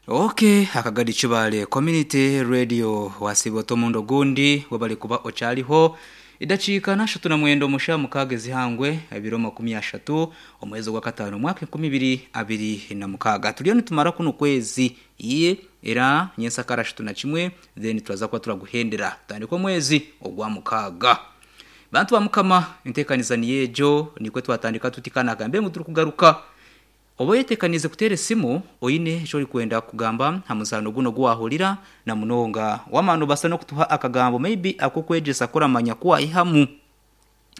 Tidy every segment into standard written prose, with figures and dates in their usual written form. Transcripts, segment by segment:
Ok akagadi Kibaale Community Radio wasiiba ota omurundi ogundi webale kuba okyariho. Edakiika n'ashatu na mwenda omu shaaha mukaaga ez'eihangwe ebiro 30 omwezi ogwakataano omwaka 2026. Turiyo nitumara kunu kwezi ii era nyensakara 31 then turaza kuba turaguhendera tutandike omwezi ogwamukaaga. Bantu ba Mukama enteekaniza niyo egyo nikwo twatandika tuti ka nagambe ngu turikugaruka. Oba oyeteekaniize kuteera esimu oine eki orikwenda kugamba aha muzaano gunu ogu waahurira na munonga. Waamara noobaasa n'okutuha akagambo maybe ak'okwegyesa ku oramanya ku waayihamu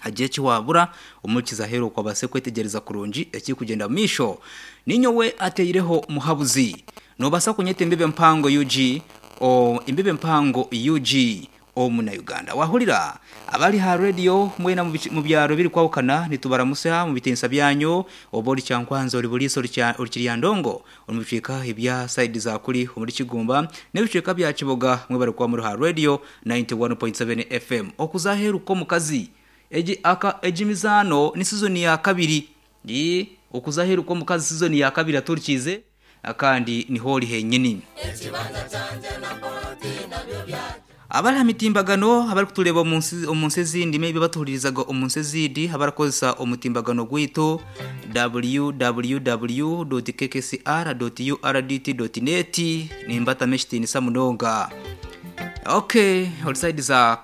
hagire eki waabura omuhurikiza aheeru okwo abaase kwetegyereza kurungi ekirikugyenda omu maisho. Niinyowe ateireho Muhabuzi. Noobaasa kunyeta Embibo Empango UG, o, Embibo Empango UG. Omuna Uganda wahurira abari aha radio mwena mu byaro ebirikwahukana nitubaramutsya mu bitiinisa byanyu oba ori Kyankwanzi ori Buliisa ori Kiryandongo ori mu bicweka ebya sayidi za kuri omuri Kigumba n'ebicweka bya Kiboga mwebare kuba muri aha radio 91.7 FM okuza aheeru kw'omukazi egi aka egi mizaano ni sizoni ya kabiri ii okuza aheeru kw'omukazi sizoni ya kabiri aturikiize Kandi niho ori henyini. Abari aha mitimbagano abarikutureeba omu nsi omu nsi ezindi maybe abatuhuririzaga omu nsi ezindi abarikukozesa omutimbagano gwaitu www.kkcr.urdt.net nimbatamu ekitiinisa munonga. Okay, ori sayidi za.